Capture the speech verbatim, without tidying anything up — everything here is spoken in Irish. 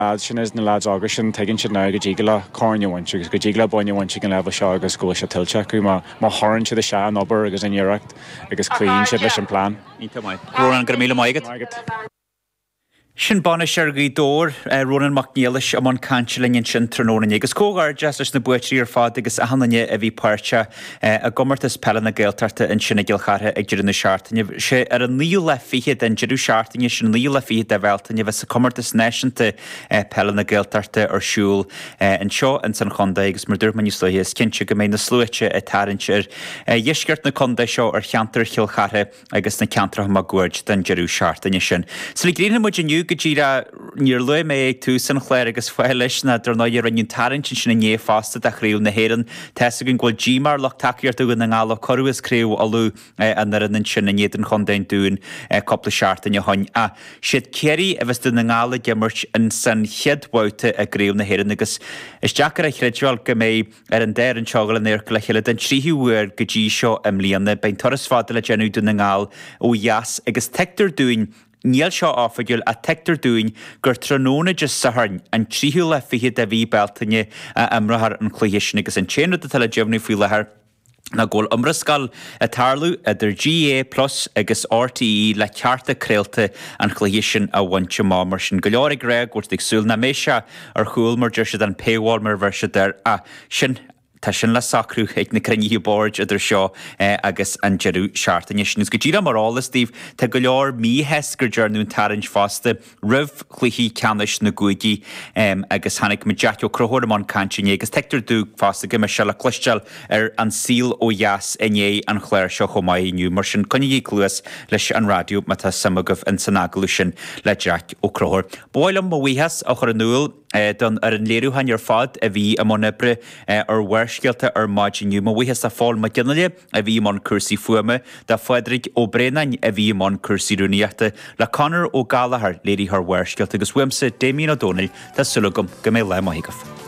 Lads sin is na lads óga sin tuigeann siad now go dtig leo corn a bhaint agus go dtig leo bonn a bhaint ag an leibhéal seo agus go bhfuil sé tuillte acu má má chuireann siad isteach an obair agus an iarracht agus cloíonn siad leis an plean. Iontach maith. Rónán go raibh míle maith agat. Sin bainisteoir Ghaoth Dobhair, Rónán Mac Niallais i mbun cainte linn ansin tráthnóna inné. Agus comhghairdeas leis na buaiteoirí ar fad agus achan duine a bhí páirteach i gcomórtas peile na Gaeltachta ansin i gCill Chartha ag deireadh na seachtaine. Sé ar an naoú lá fichead den deireadh seachtaine sin, an naoú lá fichead de Bhealtaine, a bheas comórtas náisiúnta peile na Gaeltachta ar siúl anseo ins an chontae agus mar dúirt mé níos luaithe is cinnte go mbeidh na sluaite ag tarraingt ar dheisceart na contae seo ar cheantar Chill Chartha agus na ceantracha máguaird don deireadh seachtaine sin. Sula gcríochnóidh muid inniu go díreach níor luaigh mé ag tús an chláir agus fáth leis ná dar ndóigh rinneadh tarraingt ansin inné fosta do Chraobh na hÉireann. Tá's againn go bhfuil díomá ar lucht tacaíochta Dhún na nGall ó cuireadh as Craobh Uladh an fhoireann ansin in éadan Chontae an Dúin cúpla seachtain ó shoin. Ach siad Ciarraí a bheas Dún na nGall ag imirt in san chéad bhabhta i gCraobh na hÉireann agus is deacair a chreidbheáil go mbeidh ar an dá fhoireann seo dul in adharca le chéile den tríú huair go dtí seo i mbliana. Beidh turas fada le déanamh Dún na nGall ó dheas agus tuigtear dúinn, níl seo oifigiúil, ach tuigtear dúinn gur tráthnóna Dé Sathairn, an tríú lá fichead de mhí Bealtaine a imreofar an cluiche sin agus an t-aon rud atá le deimhniú faoi láthair ná go bhfuil iomrascáil ag tarlú idir GAA Plus agus RTÉ le cearta craolta an chluiche sin a bhaint amach. Mar sin, go leor ag rá go bhfuil siad ag súil nach mbeidh sé ar chúl mar deir siad an paywall mar a bheir siad air ach sin Tá sin le socrú ag na cruinnithe boird idir seo agus an deireadh seachtaine sin. Agus go díreach mar eolas daoibh, tá go leor míshásta gur dearnadh an tarraingt fosta roimh chluichí ceannais na gcúigí agus chonaic muid Jeaic Ó Conchúir i mbun cainte inné agus tuigtear domh fosta go mbeidh sé le cloisteáil ar An Saol Ó Dheas i ndiaidh an chláir seo chomh maith inniu. Mar sin, coinnígí cluas leis an raidió má tá suim agaibh ins an agallamh sin le Jeaic Ó Conchúir. Ba mhaith liom mo bhuíochas a chur in iúl don fhoireann léiriúcháin ar fad a bhí i mbun oibre ar Bharrscéalta ar maidin inniu. Mo bhuíochas do Phól Mac Fhionnghaile a bhí i mbun cúrsaí fuaime, do Phádraig Ó Braonáin a bhí i mbun cúrsaí rúnaíochta, le Conor Ó Gallchóir, léiritheoir Bharrscéalta, agus uaimse, Damien Ó Dónaill, tá súil agam go mbeidh lá maith agaibh.